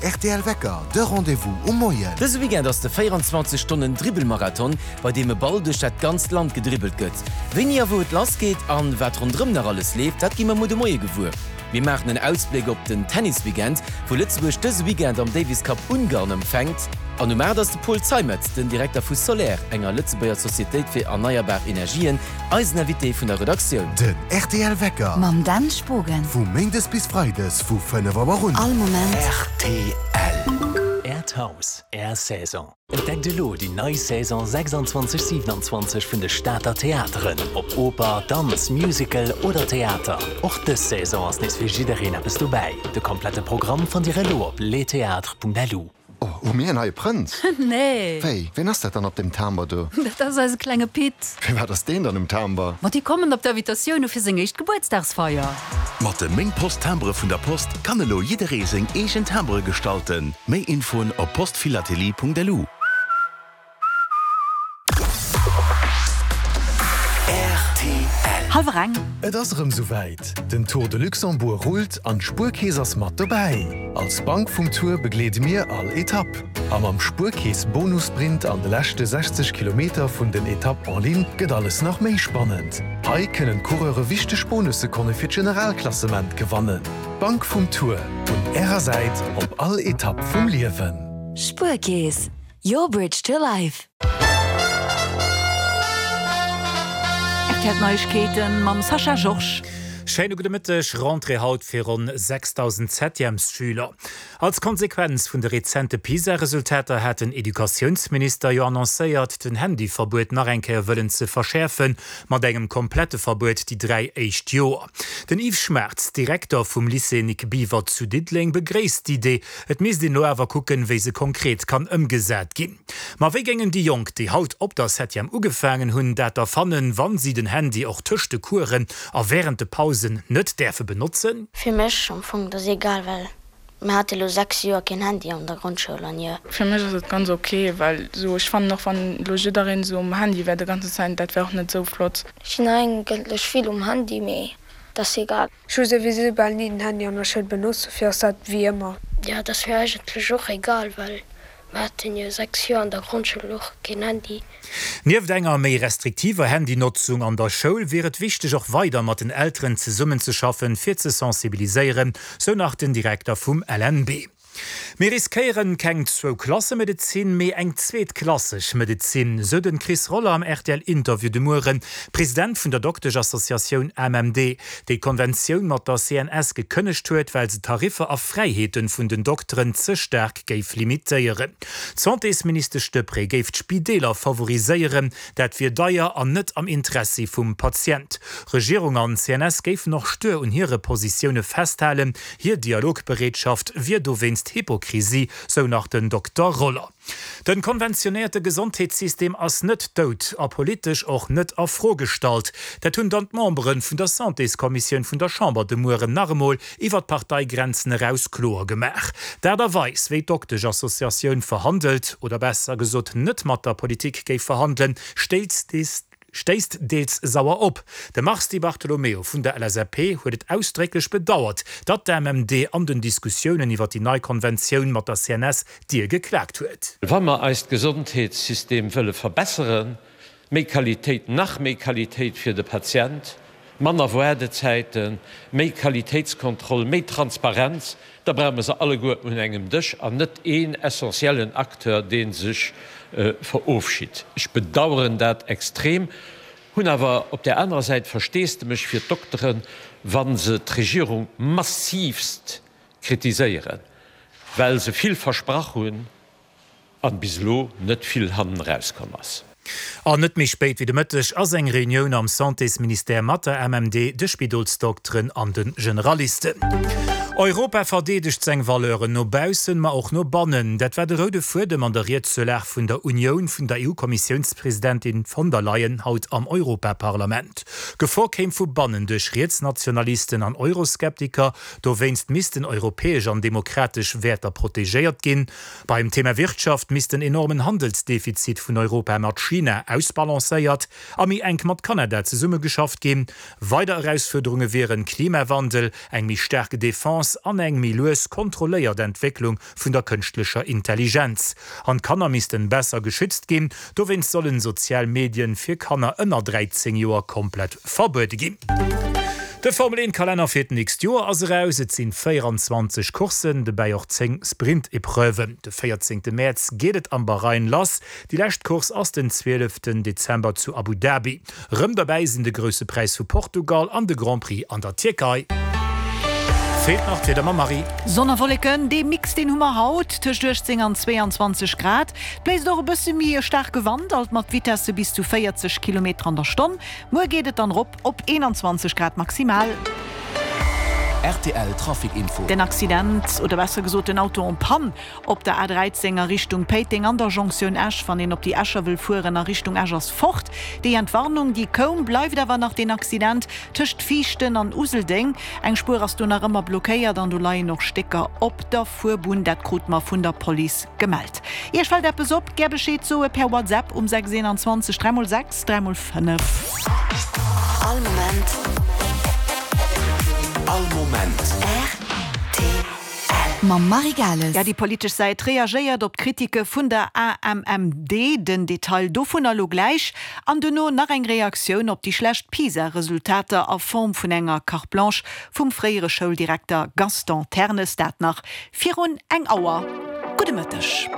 Rtl Wecker, de Rendez-vous um Moien. Dëse Weekend ass de 24 Stonnen Dribbelmarathon, bei deem e Ball duerch dat ganzt Land gedribbelt gëtt. Wéini a wou et lass geet an wat ronderëm nach alles leeft, dat gi mer muer de Moie gewuer. Mir maachen en Ausbléck op den Tennisweekend, wou Lëtzebuerg dëse Weekend am Davis Cup Ungarn empfänkt. An um 8 ass de Paul Zeimetz, den Direkter vu Soler, enger Lëtzebuerger Societéit fir erneierbar Energien, eisen Invité vun der Redaktioun. Den rtl Wecker. Mam Dan Spogen. Vu Méindes bis Freides vu 5 Auer un. All Moment. Rtl. Äert Haus, Är Saison. Entdeckt elo déi nei Saison 26 27 vun de Stater Theateren, ob Oper, Danz, Musical oder Theater. Och dës Saison ass nees fir jiddereen eppes dobäi. De komplette Programm fannt Dir elo op lestheatres.lu. Oh, hu mir en neie Prënz? Nee. Wéi, ween ass dat dann op dem Timber do? Dat ass eise klenge Pit. Firwat ass deen dann um Timber? Ma déi kommen op d'Invitatioune fir seng éischt Gebuertsdagsfeier. Mat de Meng Post Timbre vun der Post kann elo jidderee seng eegen Timbre gestalten. Méi Infoen op postphilatelie.lu. Hallwer eng. Et ass erëm souwäit, den Tour de Luxembourg rullt an d'Spuerkeess ass mat dobäi! Als Bank vum Tour begleede mir all Etapp. A mam Spuerkeess Bonussprint an de leschte 60 Kilometer vun den Etapp en ligne gëtt alles nach méi spannend. Hei kënnen d'Coureure wichteg Bonussekonne fir d'Generalklassement gewannen. D'Bank vum Tour, un Ärer Säit op all Etapp vum Liewen. Spuerkeess, your bridge to life. Rtl Neiegkeeten mam Sascha Georges. Schéine gudde Mëtteg. Rentrée haut fir ronn 6.000 Septièmesschüler. Als Konsequenz vun de rezente PISA-Resultater hat den Educatiounsminister jo annoncéiert, den Handyverbuet nach eng Kéier wëllen ze verschäerfen, mat engem komplette Verbuet déi 3 éischt Joer. Den Yves Schmaartz, Direkter vum Lycée Nic Biever zu Diddeleng, begréisst d'Idee. Et misst een elo awer kucken, wéi se konkret kann ëmgesat ginn. Ma wéi géingen déi Jonk, déi haut op der Septième ugefaangen hunn, dat da fannen, wann si den Handy och tëscht de Coursen a wärend de Pausen net däerfe benotzen? Fir mech am Fong, et ass egal, well Mir hate lo 6 Joer keen Handy an der Grondschoul an jo. Fir mech ass et ganz ok, well sou ech fannen och wann lo jiddereen sou um Handy wär de ganzen Zäit, dat wär och net sou flott. Ech sinn eigentlech vill um Handy, mee et ass egal. Ech hu souwisou bal ni den Handy an der Schoul benotzt, dofir ass dat wéi ëmmer. Jo, et ass mir eigentlech och egal, well Mer haten jo 6 Joer an der Grondschoul och keen Handy. Nieft enger méi restriktiver Handynotzung an der Schoul wier et wichteg och weider mat den Elteren zesummenzeschaffen, fir ze sensibiliséieren, sou nach den Direkter vum LNB. Mir riskéieren keng Zwou-Klasse-Medezin, mee eng zweetklasseg Medezin, sou den Chris Roller am RTL-Interview de Mueren, President vun der Dokteschassociatioun AMMD, déi d'Konventioun mat der CNS gekënnegt huet, well se d'Tariffer a Fräiheeten vun den Dokteren ze staark géif limitéieren. D'Santésministesch Deprez géif d'Spideeler favoriséieren, dat wier deier an net am Interessi vum Patient. Regierung an CNS géifen och stuer un hire Positioune festhalen, hir Dialogbereetschaft wier dowéinst Hypokrisie, sou nach den Dokter Roller. Den konventionéierte Gesondheetssystem ass net dout a politesch och net a Fro gestallt. Dat hunn dann d'Membere vun der Santéskommissioun vun der Chamber de Mueren nach emol iwwer d'Parteigrenzen eraus kloer gemaach. D'Aart a Weis, wéi d'Doktesch-Associatioun verhandelt, oder besser gesot net mat der Politik géif verhandelen, stéisst deels sauer op. De Mars Di Bartolomeo vun der LSAP huet et ausdrécklech bedauert, datt d'AMMD an den Diskussiounen iwwer déi nei Konventioun mat der CNS d'Dier geklaakt huet. Wa mer eist Gesondheetssystem wëlle verbesseren, méi Qualitéit, nach méi Qualitéit fir de Patient, manner Woardezäiten, méi Qualitéitskontroll, méi Transparenz, da brauche mer se alleguer un engem Dësch an net een essentiellen Acteur, dee sech verofschitt. Ech bedauern dat extrem, hunn awer op där anerer Säit Versteesdemech fir d'Dokteren, wa se d'Regierung massivst kritiséieren, well se vill versprach hunn an bis elo net vill hannen erauskomm ass. An net méi spéit wéi de Mëtteg ass eng Reunioun am Santésministère mat der MMD, de Spidolsdokteren an de Generalisten. Europa verdeedegt seng Valeuren no baussen, ma och no bannen. Dat war de roude Fuedem an der Ried zur Lag vun der Unioun vun der EU-Kommissiounspresidentin von der Leyen haut am Europaparlament. Gefor kéim vu bannen duerch Rietsnationalisten an Euroskeptiker. Dowéinst missten europäesch an demokratesch Wäerter protegéiert ginn. Beim Thema Wirtschaft misst den enormen Handelsdefizit vun Europa mat China ausbalancéiert a méi enk mat Kanada zesummegeschafft ginn. Weider Erausfuerderunge wieren Klimawandel, eng méi staark Defense. Chance an eng méi lues, kontrolléiert Entwécklung vun der kënschtlecher Intelligenz. An d'Kanner missten besser geschützt ginn. Dowéinst sollen sozial Medien fir Kanner ënner 13 Joer komplett verbuede ginn. De Formel 1 Kalenner fir d'nächst Joer ass eraus. Et sinn 24 Courssen, dobäi och 10 Sprint-Epreuven. De 14 Mäerz geet et am Bahrain lass. Déi lescht Course ass den 12 Dezember zu Abu Dhabi. Rëm derbäi sinn de Grousse Präis vu Portugal an de Grand Prix an der Tierkei. Feelt nach d'Wieder mam Marie. Sonn a Wolleken, dee Mix deen hu mer haut, tëscht 18 an 22 Grad. Et bléist och e bësse méi e staarke Wand, alt mat Vitesse bis zu 40 Kilometer an der Stonn. Muer geet et dann erop op 21 Grad maximal. Rtl Trafic Info. Den Accident, oder besser gesot den Auto en panne, Op der A 13 a Richtung Péiteng an der Jonktioun Esch, wann een op déi Escher wëll fueren a Richtung Esch ass fort. Déi Entwarnung déi koum, bleift awer nach deen Accident tëscht Viichten an Useldeng. Eng Spuer ass do nach ëmmer blockéiert an do leien och Stécker op der Fuerbunn. Dat krute mer vun der Police gemellt. Iech fält eppes op? Gär Bescheed soe per WhatsApp um 6 21 3 x 6 3 x 5. All Moment. All Moment. Rtl. Mam Marie Gales. Ja, déi politesch Säit reagéiert op d'Kritike vun der AMMD. Den Detail dovunner elo gläich. An duerno nach eng Reaktioun op déi schlecht PISA-Resultater a Form vun enger Carte Blanche vum fréiere Schouldirekter Gaston Ternes. Dat nach virun eng Auer. Gudde Mëtteg.